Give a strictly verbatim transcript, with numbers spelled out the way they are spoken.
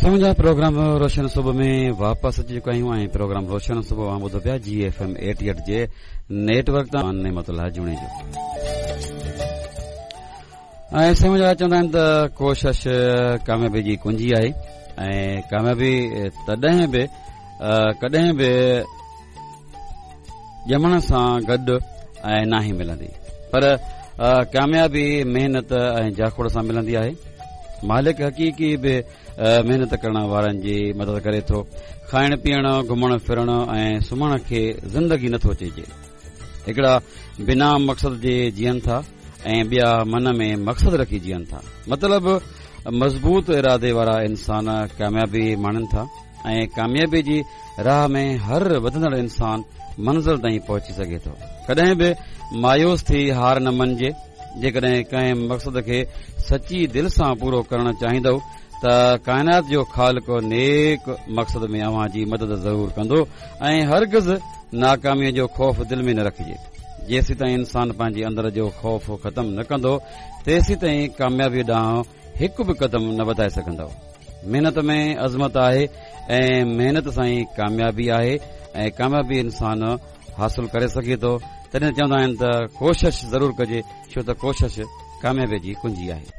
سمجها programme روشن صبح ۾ واپس اچي چڪا آهيون ۽ پروگرام روشن صبح اوهان ٻڌو پيا جي ايف ايم ايٽي ايٽ جي نيٽ ورڪ تان نعمت الله جوڻيجو. ۽ سمجها چوندا آهن ته ڪوشش ڪاميابي جي ڪنجي آهي ۽ ڪاميابي تڏهن به ڪڏهن به ڄمڻ سان گڏ ۽ ناهي ملندي، پر ڪاميابي محنت ۽ جاکوڙ سان ملندي آهي. مالڪ حقيقي به محنت ڪرڻ وارن جي مدد ڪري ٿو. کائڻ پيئڻ، گهمڻ ڦرڻ ۽ سمهڻ کي زندگي نٿو چئجي. هڪڙا بنا مقصد جي جيئن ٿا ۽ ٻيا من ۾ مقصد رکي جيئن ٿا. مطلب مضبوط ارادي وارا انسان ڪاميابي ماڻين ٿا ۽ ڪاميابي جي راهه ۾ هر وڌندڙ انسان منزل تائين پهچي سگهي ٿو. ڪڏهن به مايوس ٿي هار نه مڃجي. جيڪڏهن ڪنهن مقصد کي سچي دل سان پورو ڪرڻ چاهيندؤ ته ڪائنات جو خالق نيڪ مقصد ۾ اوهان جي مدد ضرور ڪندو ۽ هرگز ناڪاميءَ جو خوف دل ۾ نه رکجي. جيسين انسان پنهنجي اندر جو خوف ختم نه ڪندو تيسين ڪاميابي ڏانهن هڪ به قدم نه وڌائي سگهندؤ. محنت ۾ عظمت آهي ۽ محنت سان ئي ڪاميابي آهي ۽ ڪاميابي انسان حاصل ڪري سگهي ٿو. تڏهن چوندا آهن ته ڪوشش ضرور ڪجي، ڇو ته ڪوشش ڪاميابي جي ڪنجي آهي.